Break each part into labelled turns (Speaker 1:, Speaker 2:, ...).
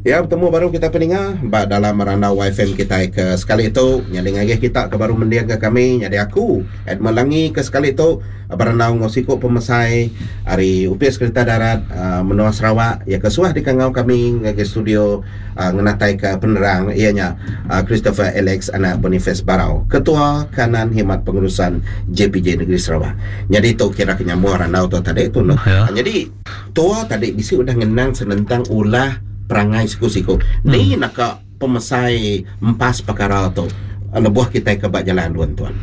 Speaker 1: Ya betemu baru kita peninga ba dalam randau YFM kitai ke sekali tu nyadi ngagih kita ke baru mendingka kami nyadi aku Edmund Langi ke sekali tu berandau enggau siku pemesai ari Opis Kereta Darat menua Sarawak iya ke suah dikangau kami ngagai studio ngenataika penerang iya nya Christopher Alex anak Boniface Barau Ketua Kanan Khidmat Pengurusan JPJ Negeri Sarawak. Nyadi tu kira ke nyambung randau tu tadi tu. Nyadi Tua tadi bisi udah ngenang senentang ulah perangai siku-siku. Ni naka pemesai empas pekara tu lebuh kitai ke ba jalai alun tuan.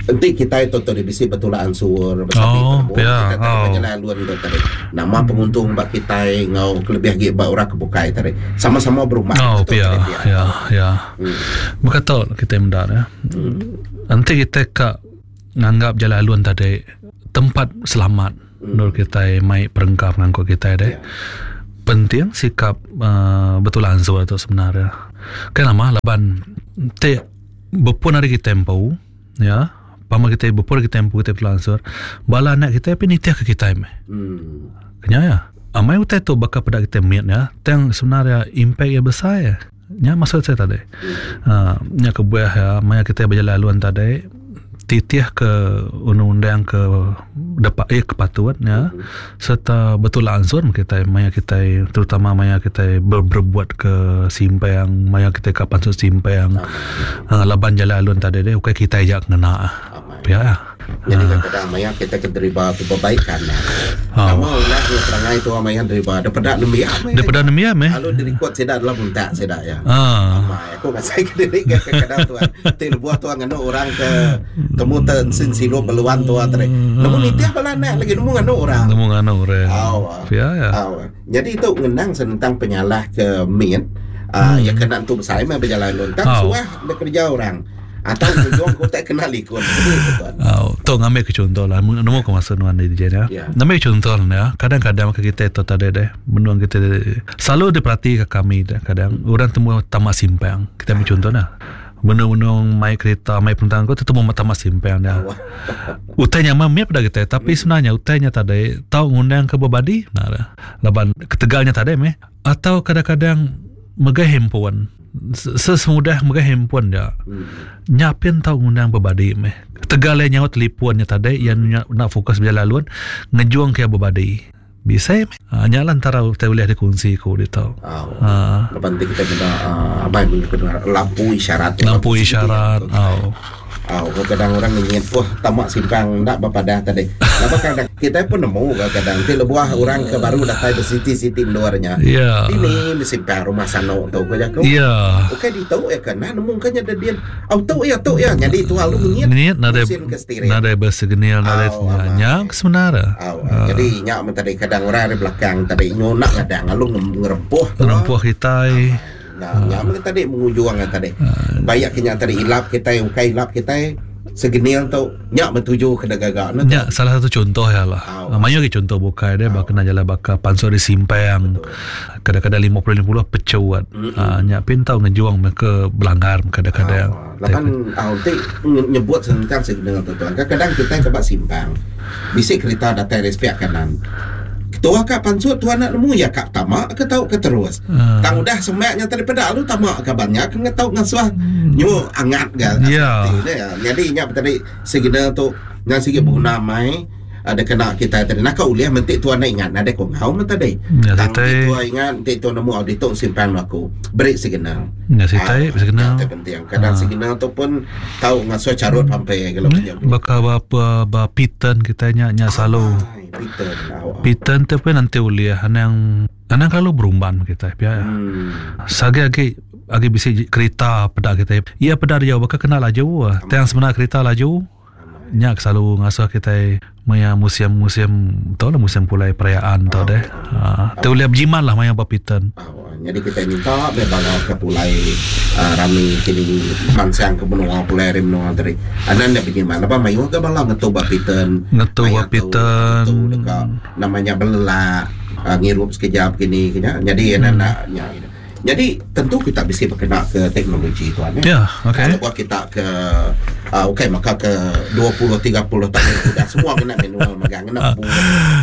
Speaker 1: Enti kitai tu tadi bisi betulak ansur besapi
Speaker 2: Oh,
Speaker 1: penemu
Speaker 2: pia.
Speaker 1: kitai tadi ba
Speaker 2: Oh.
Speaker 1: jalai alun tu tadi. Nama penguntung ba kitai enggau kelebih agi ba orang ke bukai tadi. Sama-sama berumah
Speaker 2: Oh,
Speaker 1: tu
Speaker 2: pia.
Speaker 1: tadi pia.
Speaker 2: Ya, ya.
Speaker 1: Hmm.
Speaker 2: Baka tu kitai meda ya. Enti kitai ka nganggap jalai alun tadi tempat selamat endur kitai mai perengka pengangkut kitai deh. Penting sikap uhh betul ansur tu sebenar iya. Kai nama laban ti bepun ari kitai empu ya pama kitai bepun ari kitai empu kitai betul ansur bala anak kitai pun nitih ke kitai meh. Nya iya. Amai utai tu baka peda kitai mit ya tang sebenar iya impact iya besai. Nya maksud saya tadi. Uhh nya kebuah iya maya kitai bejalai alun tadi titih ke undang-undang ke depa eh ke patut nya serta betulak ansur meh kitai maya kitai terutama maya kitai berebut ke simpang maya kitai ka pansut simpang uhh laban jalai alun tadi deh ukai kitai aja ngena. Pia iya.
Speaker 1: Nyadi kadang-kadang maya kita ke deriba tu bebaikan nya. Nama ulah nya perangai tua maya deriba daripada nembiak meh.
Speaker 2: Daripada nembiak meh.
Speaker 1: Lalu dirikod sida dalam untak sida iya. Amai aku ngasai ke diri ke kadang tuan. Ti lebuh tuan nganu orang ke temu te ensin silup beluan tua tadi. Nemu nitih bala anak lagi nemu nganu orang.
Speaker 2: Nemu nganu orang. Pia iya.
Speaker 1: Nyadi tu ngenang senentang penyalah ke mit uhh iya ke enda entu besai meh bejalai alun tang suah dikereja orang. Atau ngujung ku utai kena likun.
Speaker 2: Au, tu ngambi ke chunto lah. Nemu ku maksud nuan di DJ ya. Yeah. Ngambi chunto ya. Kadang-kadang ke kita tu tadi deh, benung kita selalu diperhati ke kami deh. Kadang orang temu tamak simpang. Kita ambil contoh nah. Benung-benung mai kereta, mai perentang ku tetemu tamak simpang dia. Utai nya mah mip dah kita, tapi sebenarnya utai nya tadi tau ngundang ke bebadi nah dah. Laban ketegalnya tadi meh atau kadang-kadang megai handphone. Sesemudah megai handphone ja. Nya pin tau ngundang bebadi meh. Tegal iya nyaut telefon nya tadi iya enda fokus bejalai alun ngejung ke iya bebadi. Bisi meh. Haa nya lah entara utai ulih dikunsi ku ditu.
Speaker 1: Haa. Laban ti kitai meda abai meh lampu isyarat.
Speaker 2: Lampu isyarat au.
Speaker 1: Au kadang orang ngenyit puh tama simpang enda bepadah tadi. Laban kadang kitai pun nemu ga kadang ti lebuh orang ke baru datai besiti-siti endur nya.
Speaker 2: Yeah.
Speaker 1: Dini besimpang rumah sano tu ku jaku.
Speaker 2: Yeah.
Speaker 1: Ukai ditu iya ke nah nemu ka nya dedin. Au tu iya tu iya nyadi tual lu ngenyit.
Speaker 2: Ngenyit nadai
Speaker 1: musin ke steering.
Speaker 2: Nadai besegenil nadai nya ke sebenar.
Speaker 1: Au jadi nya men tadi kadang orang ari belakang tadi nyunak ngadang lalu ngerempuh.
Speaker 2: Ngerempuh kitai.
Speaker 1: Nah, nya meh tadi mengujung nya tadi. Bayak ke nya tadi ilap kitai ukai ilap kitai segenil tu nya meh tuju ke digaga ne.
Speaker 2: Nya salah satu contoh iya lah. Mayuh agi contoh bukai deh baka jalai baka pansut ari simpang kadang-kadang 50 50 pecut. Aa nya pin tau ngejung meh ke belanggar kadang-kadang.
Speaker 1: Laban au ti nyebut senentang signal tu tuan. Kadang-kadang kitai ke ba simpang bisi kerita datai ari sepiak kanan. Ketua ka pansut tuan enda nemu iya ka tama ke tau ke terus. Tang udah semak nya tadi peda lalu tama kaban nya ke ngetau ngasuh nyu angat ga ati ne. Nyadi nya tadi signal tu nya sigi beguna amai dikena kitai tadi. Naka ulih menti tuan enda ingat nadai ku enggau meh tadi. Tang enti tuan ingat enti tuan nemu ditu simpang aku beri signal.
Speaker 2: Nya sitai
Speaker 1: signal. Nya penting. Kadang signal tu pun tau ngasuh charut pampe
Speaker 2: gelo. Baka ba ba Pitan kitai nya nya selalu. Pitan tu pun nanti ulih anang anang kelalu berumban kitai pia. Sagi agi agi bisi kerita peda kitai. Iya peda diau baka kena laju. Tang sebenar kerita laju. Nya ke selalu ngasuh kitai maya musim-musim tu lah musim pulai perayaan tu deh. Aaa ti ulih bejimat lah maya ba Pitan.
Speaker 1: Nyadi kitai minta meh bala ke pulai aaa rami kini mansang ke menua pulai ari menua tadi anang enda bejimat laban mayuh ga bala ngetu ba Pitan.
Speaker 2: Ngetu ba Pitan.
Speaker 1: Ngetu deka nama nya belelak aaa ngirup sekejap kini ke nya nyadi anang enda nya. Nyadi tentu kita bisi bekena ke teknologi tuan
Speaker 2: ya. Ya, okey.
Speaker 1: Lebuh kita ke uh, ukai maka ke 20 30 tahun udah semua kena manual megang ngena bup,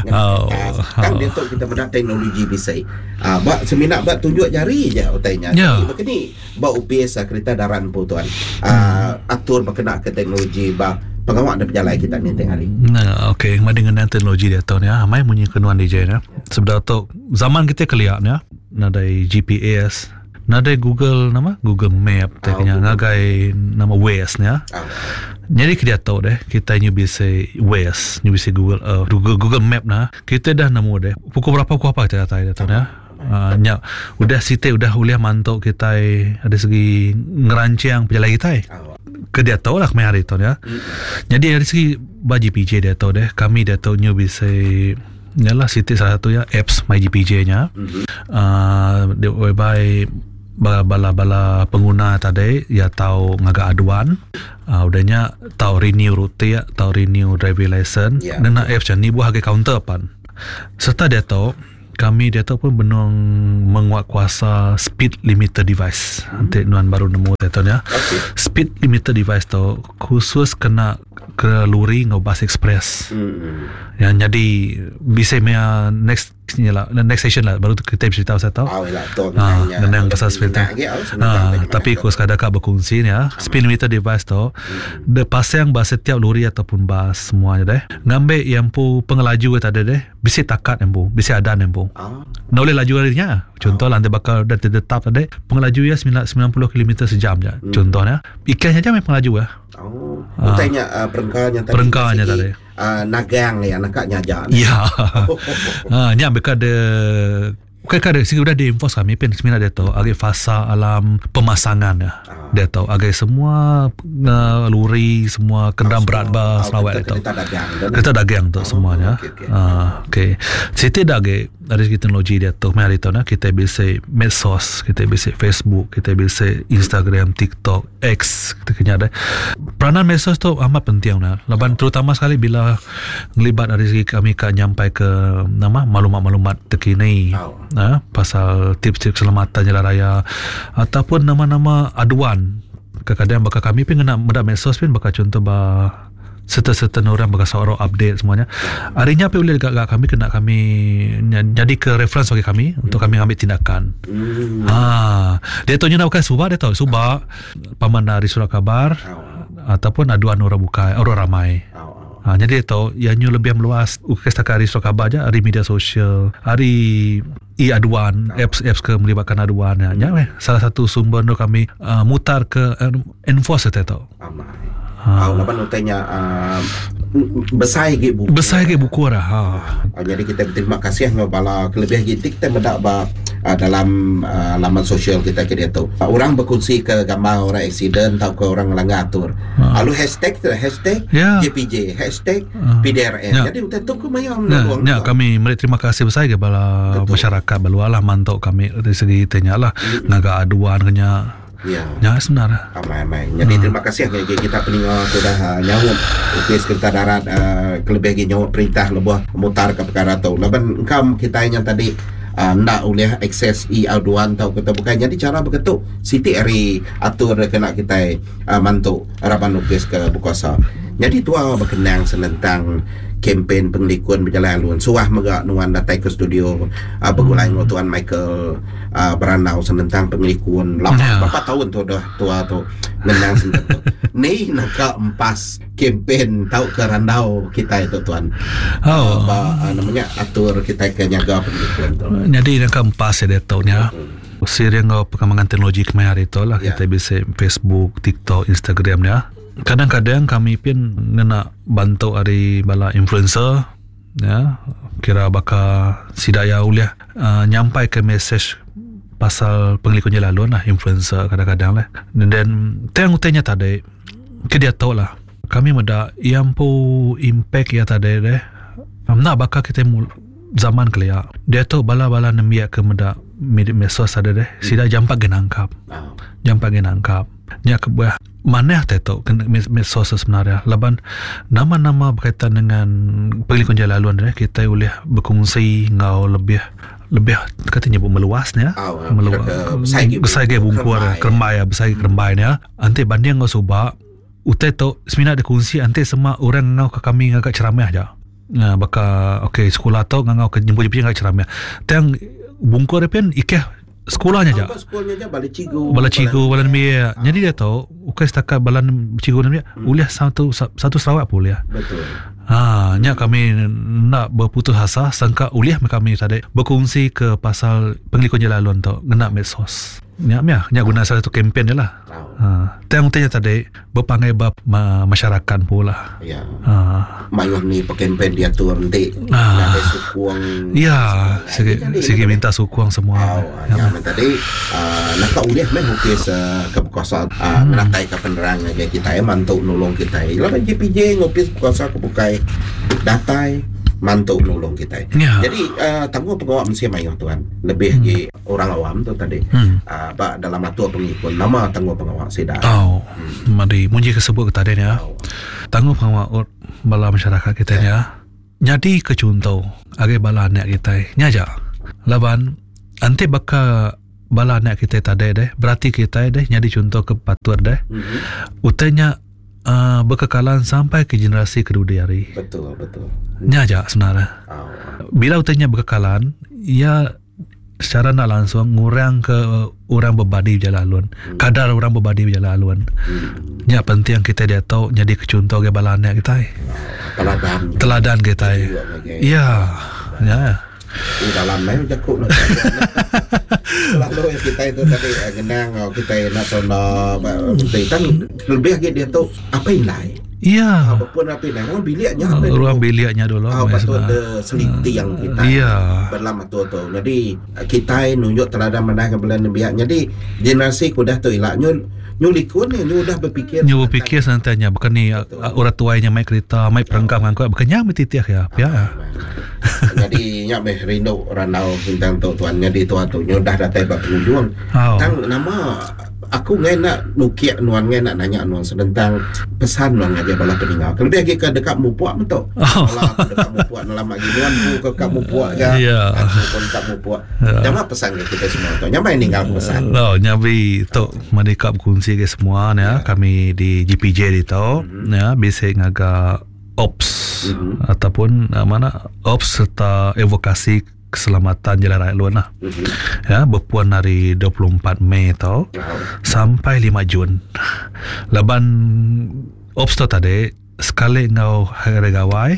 Speaker 1: ngena
Speaker 2: Oh,
Speaker 1: kertas. Tang
Speaker 2: oh.
Speaker 1: diatu kita meda teknologi bisi. Uh, ba semina ba tunjuk jari je utai nya.
Speaker 2: Ya.
Speaker 1: Jadi baka ni ba opis uh, kereta darat empu tuan. Uh, atur bekena ke teknologi ba pengawa da pejalai kita ninting hari.
Speaker 2: Nah, okey, madi ngena teknologi diatu ni ah, mai munyi ke nuan DJ ni. Sebedau tu zaman kita kelia ni ah, nadai GPS, nadai Google nama Google Map
Speaker 1: Ah,
Speaker 2: te kenya
Speaker 1: Google.
Speaker 2: ngagai nama Waze ni ah.
Speaker 1: Ah.
Speaker 2: Jadi ke diatu deh kita nyu bisi Waze, nyu bisi Google uh, Google Google Map nah. Kita dah nemu deh pukul berapa pukul apa kita datai diatu ni ah. Uh, nya udah siti udah ulih mantu kita ada segi ngerancang pejalai kita.
Speaker 1: Ah.
Speaker 2: Ke diatu lah kemaya hari tu ya. Jadi dari segi ba JPJ diatu deh kami diatu nyu bisi Yalah siti salah satu ya apps My JPJ nya.
Speaker 1: Mhm.
Speaker 2: Uh, di- whereby bala-bala pengguna tadi ya tau ngaga aduan uh, udahnya tau renew rute tau renew driving license
Speaker 1: Ya.
Speaker 2: ngena apps ni buah harga counter pan. Serta dia tahu kami dia tahu pun benung menguatkuasa speed limiter device. Nanti nuan baru nemu dia tahu ya.
Speaker 1: Okey.
Speaker 2: Speed limiter device tu khusus kena ke lori ngau bus express.
Speaker 1: Hmm.
Speaker 2: Yang jadi bisa mea next ni lah next session lah baru tu kita cerita pasal tu.
Speaker 1: Ah, lah, tu
Speaker 2: Ah,
Speaker 1: mengenai-
Speaker 2: ngenang pasal speed tu.
Speaker 1: Mengenai, oh, senang
Speaker 2: Ah,
Speaker 1: bagaimana
Speaker 2: tapi
Speaker 1: tu.
Speaker 2: aku sekadar kak berkongsi ni ya. Speed limiter device tu dia pasang bas setiap lori ataupun bas semuanya deh. Ngambil yang pu pengelaju ke tadi deh, bisi takat yang pu, bisi adan yang pu.
Speaker 1: Ah.
Speaker 2: Nak boleh laju harinya. Contoh lah, nanti bakal dah tetap tadi pengelaju ya 90 km sejam je. Contohnya, ikannya aja memang pengelaju ya.
Speaker 1: Oh, ah. Tanya uh, perengkanya tadi.
Speaker 2: Perengkanya
Speaker 1: segi,
Speaker 2: tadi.
Speaker 1: Nagang ya, nakak nyaja.
Speaker 2: Ya. Ha, nya mereka ada Bukan ada sini udah di enforce kami pun sebenarnya dia tahu agi fasa alam pemasangan ya.
Speaker 1: Ah.
Speaker 2: Dia tahu agi semua lori semua kenderaan berat ba Sarawak dia tahu.
Speaker 1: Kereta dagang. tu,
Speaker 2: Kereta dagang tu
Speaker 1: Oh,
Speaker 2: semuanya.
Speaker 1: okey, okey.
Speaker 2: Ah, okey. Siti dah agi dari segi teknologi dia tu mai hari tu nah kita bisa medsos, kita bisa Facebook, kita bisa Instagram, TikTok, X, kita kena ada. Peranan medsos tu amat penting nah. Laban terutama sekali bila ngelibat dari segi kami kat nyampai ke nama maklumat-maklumat terkini.
Speaker 1: Oh.
Speaker 2: Ha, pasal tips-tips keselamatan jalan raya ataupun nama-nama aduan. Kadang-kadang bakal kami pun kena mendak medsos pun bakal contoh ba serta-serta orang bakal seorang update semuanya. Harinya apa boleh dekat kami kena kami jadi ke reference bagi kami untuk kami ambil tindakan. Ha, dia tahu nak bukan subak dia tahu subak paman dari surat khabar
Speaker 1: Oh.
Speaker 2: ataupun aduan orang bukai orang ramai.
Speaker 1: Oh, oh.
Speaker 2: Ha, jadi dia tahu yang nyu lebih meluas bukan setakat hari surat khabar je, hari media sosial, hari e-aduan, apps-apps ke melibatkan aduan ya. Ya, weh, salah satu sumber tu kami mutar ke enforce dia tahu.
Speaker 1: Amai. Ha. Oh, laban utanya uh, besar lagi buku.
Speaker 2: Besar ke buku dah. Ha.
Speaker 1: Uh, jadi kita berterima kasih dengan bala kelebihan kita kita mendak ba dalam laman sosial kita ke dia tu. Orang berkongsi ke gambar orang accident atau ke orang melanggar atur. Lalu hashtag tu hashtag
Speaker 2: Ya.
Speaker 1: JPJ, hashtag PDRM.
Speaker 2: Ya.
Speaker 1: Jadi utai tu ke maya
Speaker 2: Ya,
Speaker 1: menolong.
Speaker 2: ya, kami meri terima kasih besar ke bala
Speaker 1: Betul.
Speaker 2: masyarakat balualah mantok kami dari segi tanya lah ngaga aduan kenya.
Speaker 1: Ya.
Speaker 2: Ya sebenarnya.
Speaker 1: Amai-amai. Jadi terima kasih ke kita peninga sudah nyaut Ofis Kereta Darat kelebih lagi nyaut perintah lebuh mutar ke perkara tu. Laban engkau kita yang tadi ndak boleh akses e-aduan tau kita bukan. Jadi cara begitu Siti hari atur kena kita mantu harapan ofis ke berkuasa. Jadi tua berkenang senentang kempen pengelikun berjalan alun. Suah megak nuan datang ke studio bergulai dengan Tuan Michael berandau senentang pengelikun. Lama
Speaker 2: Ya.
Speaker 1: berapa tahun tu dah tua tu ngenang senentang tu. Ni nak ke empas kempen tau ke randau kita itu tuan.
Speaker 2: Oh.
Speaker 1: Ba, namanya atur kita ke nyaga pengelikun tu.
Speaker 2: Jadi yang keempat saya dia tahu ni. Seiring dengan perkembangan teknologi kemarin hari tu lah
Speaker 1: Ya.
Speaker 2: kita bisa Facebook, TikTok, Instagram ni. ya. Kadang-kadang kami pun ngena bantu dari bala influencer ya kira bakal sidaya uliah nyampai ke message pasal pengelikun jalan alun lah influencer kadang-kadang lah. Dan then tang utanya tadi ke dia tahu lah kami meda yang pu impact ya tadi deh nak bakal kita mul zaman kelia dia tu bala-bala nembiak ke meda media medsos ada deh sida jampak ge nangkap
Speaker 1: Ah.
Speaker 2: jampak ge nangkap nya kebuah maneh teh tu kena medsos sebenarnya laban nama-nama berkaitan dengan pengelikun jalan laluan deh kita boleh berkongsi ngau lebih lebih kati nyebut meluas nya
Speaker 1: meluas
Speaker 2: besai agi bungkur kerembai besai agi kerembai nya enti banding enggau suba utai tu semina dikunsi enti sema orang ngangau ke kami ngaga ceramah aja baka ok sekula tu ngangau ke nyebut nyebut ngaga ceramah tang bungkur pun ikeh Sekula nya aja.
Speaker 1: Bala cikgu,
Speaker 2: bala cikgu, bala nembiak. Jadi dia tu ukai setakat bala cikgu nembiak, hmm. ulih satu satu Sarawak pun ulih.
Speaker 1: Betul.
Speaker 2: Ha, nya kami nak berputus asa sangka ulih kami tadi berkongsi ke pasal pengelikun jalan alun tu ngena medsos. Nya meh, nya guna salah satu kempen dia lah. Ha, tang utai nya tadi Bepanggai ba masyarakat empu lah.
Speaker 1: Ya. Ha. Mayuh ni pekempen diatur enti ha. nadai sukung.
Speaker 2: Ya, sigi sigi minta sukung semua.
Speaker 1: Oh, ya, ya. tadi uh, naka ulih meh opis uh, ke bekuasa uh, hmm. ngenatai ke penerang ngagai kita ya mantu nulung kita. Laban JPJ ngopis bekuasa ke bukai datai mantu nulung kita.
Speaker 2: Ya.
Speaker 1: Jadi uh, tanggung pengawa mensia mayuh tuan lebih hmm. agi Orang awam tu tadi hmm. uh, ba dalam atur pengikun nama tanggung pengawa sida.
Speaker 2: Oh. Hmm. Madi munyi ke sebut ke tadi ni ya. Oh. Tanggung pengawa bala masyarakat kita ni ya. Nyadi ke contoh agai bala anak kita. Nya aja. Laban anti baka bala anak kita tadi deh berarti kita deh nyadi contoh ke patut deh. Mm-hmm. Utainya uh, berkekalan sampai ke generasi ke dudi hari.
Speaker 1: Betul, betul.
Speaker 2: Nya aja sebenarnya. Oh. Bila utainya berkekalan, ia secara enda langsung ngurang ke orang bebadi bejalai alun. Hmm. Kadar orang bebadi bejalai alun. Hmm. Nya penting kita diatu nyadi ke chunto ke bala anak kita.
Speaker 1: Teladan.
Speaker 2: Teladan kita. Ya. Ya.
Speaker 1: Di dalam mai jaku nak. Selalu yang kita itu tadi eh, ngenang oh, kita nak tanda tentang lebih lagi dia tu apa indai.
Speaker 2: Iya.
Speaker 1: Ha, bepun api dah. Ruang biliknya
Speaker 2: apa Ruang biliknya dulu.
Speaker 1: Ha, patut de seliti yang kita.
Speaker 2: Iya.
Speaker 1: Berlam atur tu. Jadi kita nunjuk teladan manah ke bala nembiak. Jadi generasi ke udah tu ila nyu nyu likun ni nyu udah berfikir.
Speaker 2: Nyu berfikir santainya bukan ni orang tuai nya mai kereta, mai perengkap ngangkut bukan nya meh titih ya.
Speaker 1: Ya. Jadi nya meh rindu randau tentang tu tuan. Jadi tuan tu nyu udah datai ba penghujung.
Speaker 2: Oh.
Speaker 1: Tang nama Aku enggai enda nukik nuan enggai enda nanya nuan senentang pesan nuan ngagai bala peninga. Kelebih agi ke deka mupuk metu.
Speaker 2: Oh.
Speaker 1: Bala aku deka mupuk dalam agi nuan empu ke ka mupuk ga.
Speaker 2: Yeah.
Speaker 1: Aku pun ka mupuk.
Speaker 2: Yeah.
Speaker 1: Nama pesan ke kita semua tu. Nyamai ninggal pesan.
Speaker 2: Oh, nyabi tu madi ka bekunsi ke semua ya.
Speaker 1: Yeah.
Speaker 2: Kami di GPJ ditu
Speaker 1: mm-hmm.
Speaker 2: ya bisi ngaga ops
Speaker 1: mm-hmm.
Speaker 2: ataupun uh, mana ops serta evokasi keselamatan jalan raya luan lah.
Speaker 1: Mm-hmm.
Speaker 2: Ya, berpuan hari 24 Mei tau
Speaker 1: wow.
Speaker 2: sampai 5 Jun. Laban ops tu tadi sekali ngau hari raya gawai,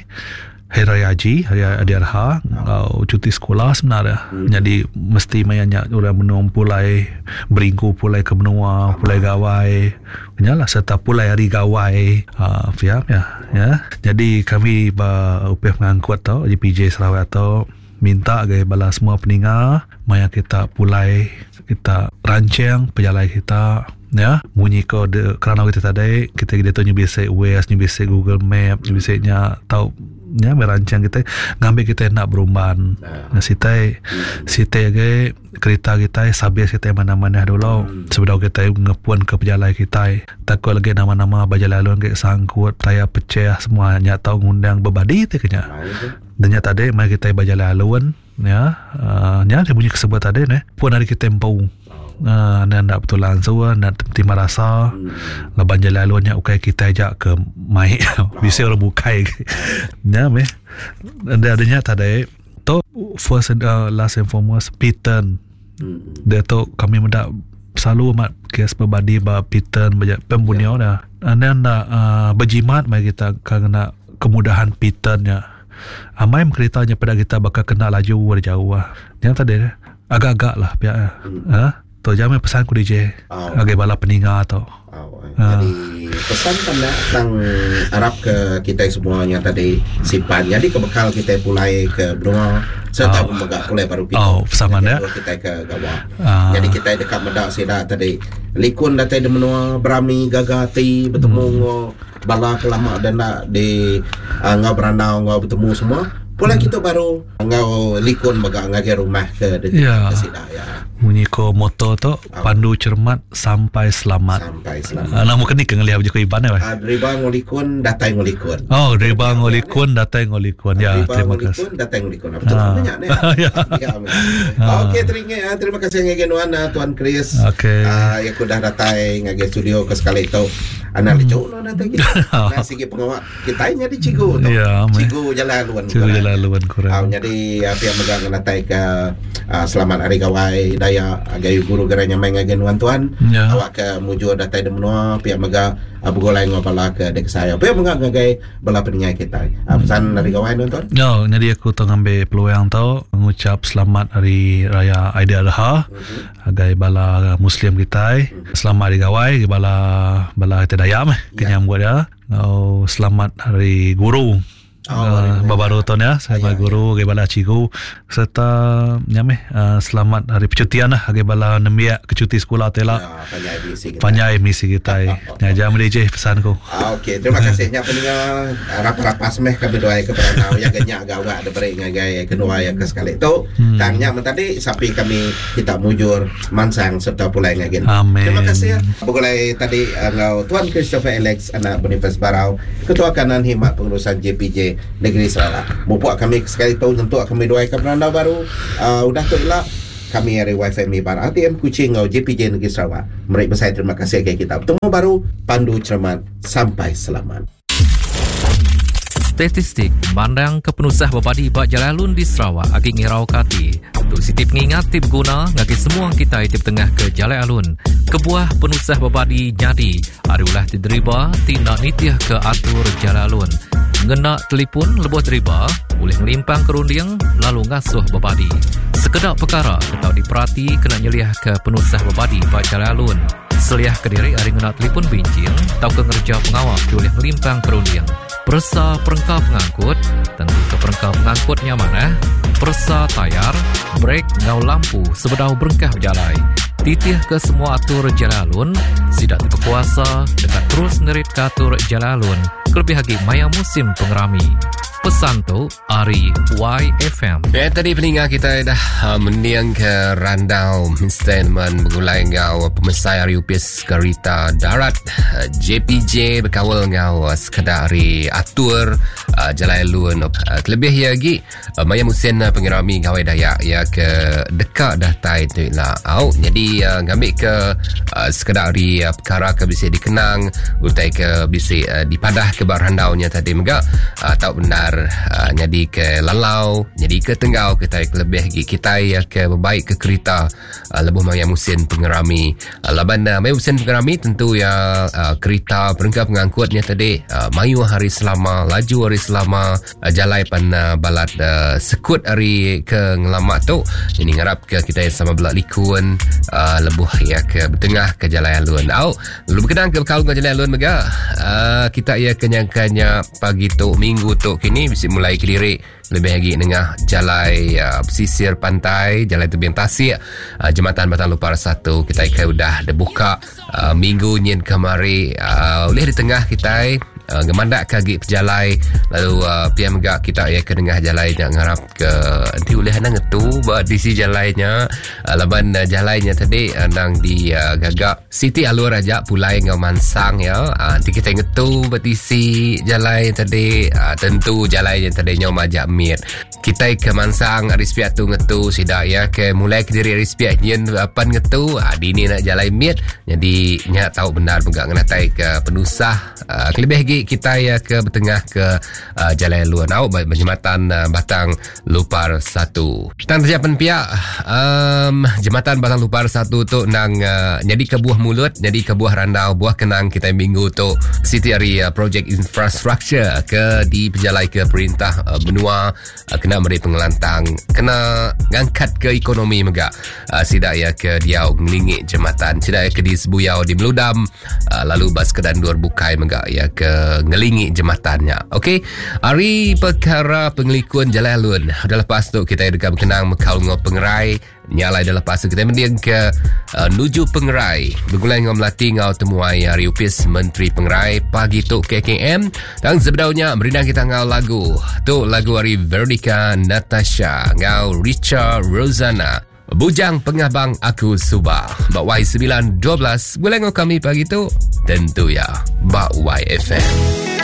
Speaker 2: hari raya haji, hari raya Adi Adha, ngau cuti sekolah sebenarnya. Jadi mesti maya nya orang menung pulai beringku pulai ke menua, pulai gawai. Nya lah serta pulai hari gawai. Uh, ya, ya, ya. Jadi kami ba upih pengangkut tau JPJ Sarawak tau minta gai bala semua peninga maya kita pulai kita rancang pejalai kita ya munyi ko de kerana kita tadi kita diatu nyu bisi Waze nyu bisi Google Map nyu bisi nya tau nya merancang kita ngambi kita enda berumban
Speaker 1: Nah.
Speaker 2: sitai sitai agi Kerita kitai sabis kitai manah-manah dulu sebedau kitai ngepun ke pejalai kitai. Takut lagi nama-nama ba jalai alun agi sangkut, tayar pecah semua nya tau ngundang bebadi ti ke nya. Dan nya tadi meh kitai ba jalai alun ya uhh nya munyi ke sebut tadi neh pun ari kitai empu uhh enda enda betulang ansu enda terima rasa laban jalai alun nya ukai kitai aja ke mai bisi orang bukai agi. Nya meh enda nya tadi. Tu first and uh, last and foremost Pitan.
Speaker 1: Hmm.
Speaker 2: Dia tu kami meda selalu amat kes berbadi ba Pitan ba pembunuh yeah. dah. And then uh, berjimat mai kita kena kemudahan Pitan nya. Amai kereta nya pada kita bakal kena laju dari jauh lah. Yang tadi agak-agak lah pihak.
Speaker 1: Hmm.
Speaker 2: Ha? Tu jamin pesan ku DJ.
Speaker 1: Oh.
Speaker 2: Ngagai bala peninga tu.
Speaker 1: Oh. Jadi pesan tanda tang arap ke kita semua nya tadi simpan. Jadi ke bekal kita pulai ke benua serta
Speaker 2: Oh.
Speaker 1: mega pulai baru kita.
Speaker 2: Oh, sama
Speaker 1: Jadi
Speaker 2: nya.
Speaker 1: Kita ke gawa.
Speaker 2: Ah.
Speaker 1: Jadi kita dekat meda sida tadi likun datai di menua berami gaga ati betemu
Speaker 2: Hmm.
Speaker 1: enggau bala ke lama dan enda di uh, enggau berandau enggau betemu semua. Pulai kitu baru enggau likun mega ngagai rumah ke
Speaker 2: Ya. ke sida ya. Munyi ko moto tu pandu cermat sampai selamat.
Speaker 1: Sampai selamat.
Speaker 2: Nama keni ke ngelih bejaku Iban eh.
Speaker 1: Deriba enggau likun datai enggau likun.
Speaker 2: Oh, deriba enggau likun datai enggau likun. Ya,
Speaker 1: terima kasih. Likun datai enggau likun. Betul ah. nya ne. Ya. Okey, terima terima kasih ngagai nuan Tuan Chris.
Speaker 2: Okey.
Speaker 1: Ya udah datai ngagai studio ke sekali tu. Anak lucu nuan datai kita. Nah sigi pengawa Kitai nyadi cikgu tu.
Speaker 2: Ya,
Speaker 1: cikgu jalai alun.
Speaker 2: Cikgu jalai alun kurang.
Speaker 1: Au nyadi pia mega ngenatai ke uh, selamat hari gawai Dayak agai guru gerai nyamai ngagai nuan tuan.
Speaker 2: Ya.
Speaker 1: Awak ke mujur datai di menua pia mega uh, begulai enggau bala ke dek saya. Pia mega ngagai bala peningai kitai. Uh, pesan hari gawai nuan tuan.
Speaker 2: Ya, nyadi aku tu ngambil peluang tu ngucap selamat hari raya Aidiladha. Mm-hmm. Agai bala muslim kitai. Mm-hmm. Selamat hari gawai bala bala kitai Dayak meh
Speaker 1: ya.
Speaker 2: kenyam buat dia. Enggau selamat hari guru.
Speaker 1: Oh, uh,
Speaker 2: baru tahun ya, selamat ya, guru, ya. bala cikgu serta nya meh uh, selamat hari percutian lah bagi bala nembiak ke cuti sekolah tu lah.
Speaker 1: Ya, panjai misi kita.
Speaker 2: Panjai misi kita. Nya aja meli je pesan ku.
Speaker 1: Ah, okey, terima kasih nya peninga rapas-rapas meh kami duai ke peranau ya genyak gawa ada beri ngagai kedua ya ke sekali tu. Hmm. Tang nya tadi sapi kami kita mujur mansang serta pulai ngagai.
Speaker 2: Amin.
Speaker 1: Terima kasih ya. Begulai tadi enggau Tuan Christopher Alex anak Boniface Barau, Ketua Kanan Khidmat Pengurusan JPJ Negeri Sarawak. Mupuk kami sekali tu nyentuk kami duai ke berandau baru. Uh, udah tu ila kami ari YFM Iban RTM Kuching enggau JPJ Negeri Sarawak meri besai terima kasih ngagai kita. Betemu baru pandu cermat sampai selamat.
Speaker 3: Statistik mandang ke penusah bebadi ba jalai alun di Sarawak agi ngirauka ati. Tu siti pengingat ti beguna ngagai semua kitai ti betengah ke jalai alun. Kebuah penusah bebadi nyadi ari ulah ti deriba ti enda nitih ke atur jalai alun. Ngena telipun lebuh deriba ulih ngelimpangka runding lalu ngasuh bebadi. Sekeda pekara ke tau diperati kena nyeliahka penusah bebadi ba jalai alun. Seliahka diri ari ngena telipun binching tauka ngereja pengawa ti ulih ngelimpangka runding. Peresa perengka pengangkut, tentuka perengka pengangkut nya manah, peresa tayar, brek enggau lampu sebedau berengkah bejalai. Titihka semua atur jalai alun, sida ti bekuasa deka terus neritka atur jalai alun kelebih agi maya musim pengerami. Pesan tu ari YFM.
Speaker 4: Ya, tadi peninga kita dah uh, mending ke randau statement begulai enggau pemesai ari upis kerita darat uh, JPJ berkawal enggau uh, sekeda ari atur uh, jalai alun uh, kelebih ia lagi uh, maya musim uh, pengerami Gawai Dayak ya ke deka datai tu ila. Au jadi uh, ngambil ke uh, sekeda ari uh, perkara ke bisi dikenang utai ke bisi uh, dipadah ke ba randaunya tadi mega uh, tau bendar uh, nyadi ke lalau nyadi ke tenggau kitai kelebih agi kitai uh, ke bebaik ke kerita uh, lebuh maya musim pengerami uh, laban uh, maya musim pengerami tentu ya uh, kerita perengka pengangkutnya tadi uh, mayuh hari selama laju hari selama uh, jalai pan uh, balat uh, sekut hari ke ngelama tu ini ngarap ke kita sama belak likun uh, lebuh ya ke bertengah ke jalai alun au Lalu berkenaan ke bekal enggau jalai alun mega, uh, kita iya ke nyangkanya pagi tu, minggu tu kini bisi mulai kediri lebih agi nengah jalai uh, pesisir pantai, jalai tebing tasik, uh, jematan Batang Lupar 1 kita ke udah dibuka uh, minggu nyin kemari uh, ulih di tengah kita uh, ngemandak ke agi pejalai lalu uh, pia mega kita iya ke nengah jalai nya ngarap ke enti ulih anang ngetu ba tisi jalai nya uh, laban uh, jalai nya tadi anang di uh, gaga siti alur aja pulai enggau mansang ya uh, enti kita ngetu ba tisi jalai tadi uh, tentu jalai nya tadi nyau majak mit kita ke mansang ari sepiak tu ngetu sida ya ke mulai ke diri ari sepiak nyin pan ngetu uh, dini nak jalai mit jadi nya tau benar mega ngenatai ke penusah Uh, kelebih lagi kita ya ke bertengah ke uh, Jalan Luar Nau jematan uh, Batang Lupar 1. Tang saja pihak um, jematan Batang Lupar 1 tu nang uh, jadi ke buah mulut, jadi ke buah randau, buah kenang kita minggu tu siti hari uh, projek infrastruktur ke di pejalai ke perintah uh, benua uh, kena meri pengelantang, kena ngangkat ke ekonomi mega uh, sida ya ke diau ngelingi jematan, sida ya ke di Sebuyau di Meludam uh, lalu bas ke dandur bukai mega ya ke ngelingi jematan nya. Okey, ari perkara pengelikun jalai alun. Udah lepas tu kita deka berkenang mekal ngau pengerai. Nya alai dah lepas tu kita mending ke uh, nuju pengerai. Begulai ngau melati ngau temuai hari Upis Menteri Pengerai pagi tu KKM. Dan sebedaunya merindang kita ngau lagu. Tu lagu hari Veronica Natasha ngau Richard Rosanna. Bujang Pengabang Aku Suba. Bak Y912. Gulai ngau kami pagi tu. Tentu ya. Bak YFM.